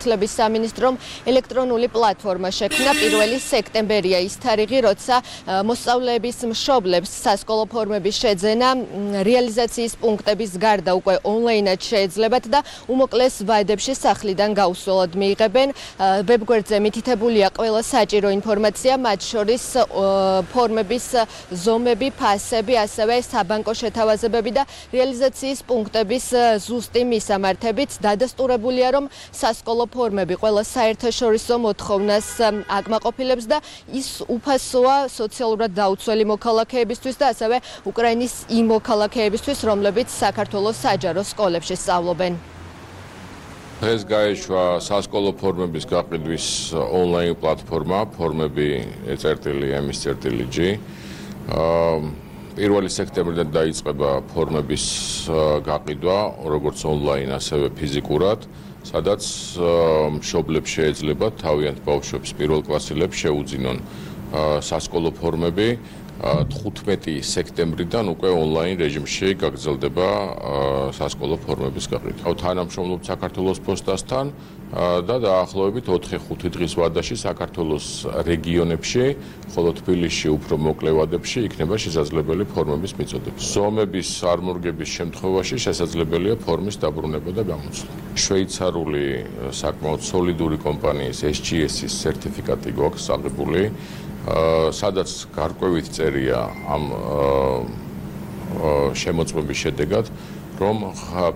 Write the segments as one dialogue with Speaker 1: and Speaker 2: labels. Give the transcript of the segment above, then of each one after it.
Speaker 1: სლების სამინისტრომ ელექტრონული პლატფორმა შექმნა 1 სექტემბერია ის თარიღი, როცა მოსწავლეების მშობლებს სასკოლო ფორმების შეძენა რეალიზაციის პუნქტების გარდა უკვე ონლაინად შეეძლებათ და უმოკლეს ვადებში სახლიდან გაუსვლელად მიიღებენ. ვებგვერდზე მითითებულია ყველა საჭირო ინფორმაცია, მათ შორის ფორმების ზომები, ფასები, ასევე საბანკო შეთავაზებები და რეალიზაციის პუნქტების ზუსტი მისამართებიც. დადასტურებულია, რომ სასკოლო ფორმები ყველა საერთაშორისო მოთხოვნას აკმაყოფილებს და ის უფასოა სოციალურად დაუცველი მოქალაქეებისთვის და ასევე უკრაინის იმ მოქალაქეებისთვის, რომლებიც საქართველოს საჯარო სკოლებში სწავლობენ.
Speaker 2: დღეს გაეშვა სასკოლო ფორმების გაყიდვის ონლაინ პლატფორმა ფორმები ECRTL-MSCRTL-G. 1 სექტემბრიდან დაიწყება ფორმების გაყიდვა, როგორც ონლაინ, ასევე ფიზიკურად. სადაც მშობლებს შეეძლებათ თავიანთ ბავშვებს პირველკლასელებს შეუძინონ სასკოლო ფორმები 15 სექტემბრიდან უკვე ონლაინ რეჟიმში გაგრძელდება სასკოლო ფორმების გაყიდვა. თანამშრომლობთ საქართველოს პოსტასთან და დაახლოებით 4-5 დღის ვადაში საქართველოს რეგიონებში, ხოლო თბილისში უფრო მოკლე ვადებში იქნება შესაძლებელი ფორმების მიწოდება. ზომების არმორგების შემთხვევაში შესაძლებელია ფორმის დაბრუნება და გამოცვლა. შვეიცარიული საკმაოდ სოლიდური კომპანიის SGS-ის სერტიფიკატი გვაქვს აღებული, სადაც გარკვევით წერია ამ შემოწმების შედეგად, რომ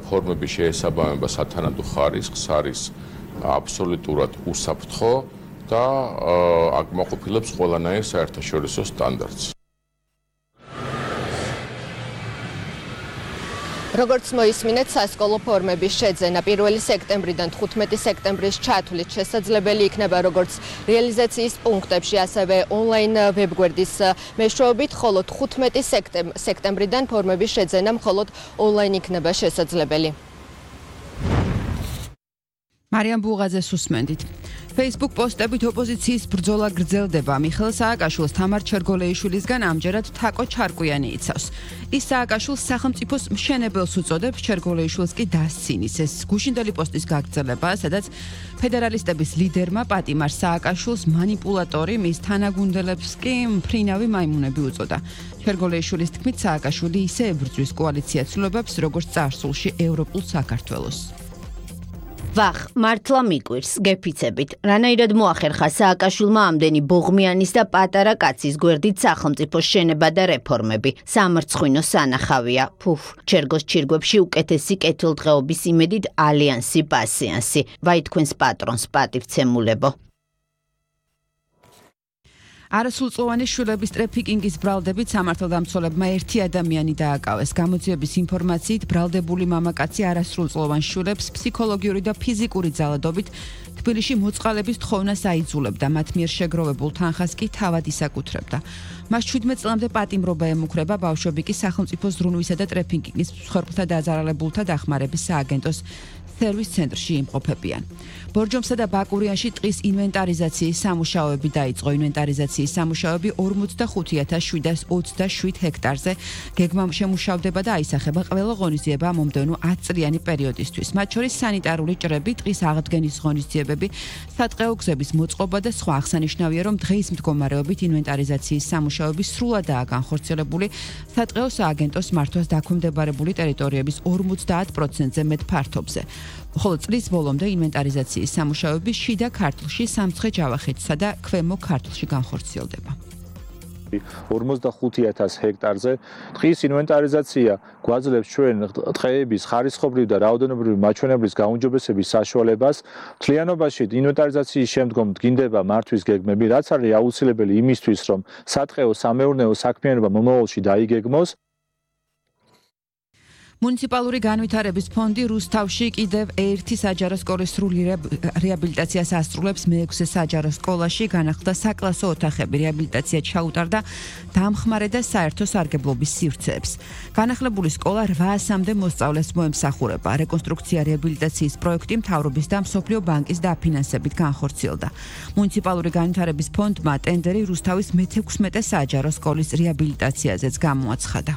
Speaker 2: ფორმები შეესაბამება სათანადო ხარისხს, არის აბსოლუტურად უსაფრთხო და აკმაყოფილებს ყველანაირ საერთაშორისო სტანდარტს.
Speaker 1: როგორც მოისმინეთ, სასკოლო ფორმების შეძენა 1 სექტემბრიდან 15 სექტემბრის ჩათვლით შესაძლებელი იქნება როგორც რეალიზაციის პუნქტებში, ასევე ონლაინ ვებგვერდის მეშვეობით, ხოლო 15 სექტემბრიდან ფორმების შეძენა მხოლოდ ონლაინ იქნება შესაძლებელი.
Speaker 3: მარიამ ბუღაძეს უსმენდით. Facebook პოსტებით ოპოზიციის ბრძოლა გრძელდება. მიხეილ სააკაშვილს თამარ ჩერგოლეიშვილისგან ამჯერად თაკო ჩარკვიანი იცავს. ის სააკაშვილს სახელმწიფოს მშენებელს უწოდებს, ჩერგოლეიშვილს კი დასცინის. ეს გუშინდელი პოსტის გაგრძელებაა, სადაც ფედერალისტების ლიდერმა პატიმარ სააკაშვილს მანიპულატორი, მის თანაგუნდელებს კი მფრინავი მაიმუნები უწოდა. ჩერგოლეიშვილის თქმით, სააკაშვილი ისე ებრძვის კოალიცია ცვლილებებს, როგორც წარსულში ევროპულ საქართველოს.
Speaker 4: ვახ, მართლა მიკვირს, გეფიცებით. რანაირად მოახერხა სააკაშვილმა ამდენი ბოღმიანის და პატარა კაცის გვერდით სახელმწიფოს შენება და რეფორმები. სამარცხვინო სანახავია. ჩერგოს ჩირგვებში უკეთესი კეთილდღეობის იმედით ალიანსი პასიანსი. ვაი თქვენს პატრონს პატივცემულებო.
Speaker 3: არასრულწლოვანი შვილების ტრეფიკინგის ბრალდებით სამართალდამცველებმა ერთი ადამიანი დააკავეს. გამოძიების ინფორმაციით, ბრალდებული მამაკაცი არასრულწლოვან შვილებს ფსიქოლოგიური და ფიზიკური ძალადობით თბილისში მოწყალების თხოვნას აიძულებდა, მათ მიერ შეგროვებულ თანხას კი თავად ისაკუთრებდა. მას 17 წლამდე პატიმრობა ემუქრება, ბავშვები კი სახელმწიფო ზრუნვისა და ტრეფიკინგის მსხვერპლთა დაზარალებულთა დახმარების სააგენტოს სერვის ცენტრში იმყოფებიან. ბორჯომსა და ბაკურიანში ტყის ინვენტარიზაციის სამუშაოები დაიწყო. ინვენტარიზაციის სამუშაოები 45727 ჰექტარზე გეგმამ შემუშავდება და აისახება ყველა ღონისძიება მომდევნო 10 წლიანი პერიოდისთვის. მათ შორის სანიტარული ჭრები, ტყის აღდგენის ღონისძიებები, სატყეო გზების მოწყობა და სხვა. აღსანიშნავია, რომ დღეის მდგომარეობით ინვენტარიზაციის სამუშაოები სრულადაა განხორციელებული სატყეო სააგენტოს მართვას დაქვემდებარებული ტერიტორიების 50%-ზე მეტ ფართობზე. ხოლო წლის ბოლომდე ინვენტარიზაციის სამუშაოები შიდა ქართლში, სამცხე-ჯავახეთსა და ქვემო ქართლში განხორციელდება.
Speaker 5: 45,000 ჰექტარზე ტყის ინვენტარიზაცია გვაძლევს ჩვენ ტყეების ხარისხობრივ და რაოდენობრივი მაჩვენებლის გაუმჯობესების საშუალებას. მთლიანობაში ინვენტარიზაციის შემდგომ დგინდება მართვის გეგმები, რაც არის აუცილებელი იმისთვის, რომ სატყეო სამეურნეო საქმიანობა მომავალში დაიგეგმოს.
Speaker 3: მუნიციპალური განვითარების ფონდი რუსთავში კიდევ ერთი საჯარო სკოლის სრული რეაბილიტაციას ასრულებს. მე-6 საჯარო სკოლაში განახლდა საკლასო ოთახები, რეაბილიტაცია ჩაუტარდა დამხმარე და საერთო სარგებლობის სივრცეებს. განახლებული სკოლა 800-მდე მოსწავლეს მოემსახურება. რეკონსტრუქცია რეაბილიტაციის პროექტი მთავრობის და მსოფლიო ბანკის დაფინანსებით განხორციელდა. მუნიციპალური განვითარების ფონდმა ტენდერი რუსთავის მე-16 საჯარო სკოლის რეაბილიტაციაზეც გამოაცხადა.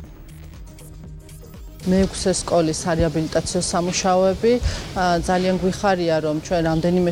Speaker 6: მე-6 სკოლის რეაბილიტაციო სამუშაოები ძალიან გვიხარია, რომ ჩვენ რამდენიმე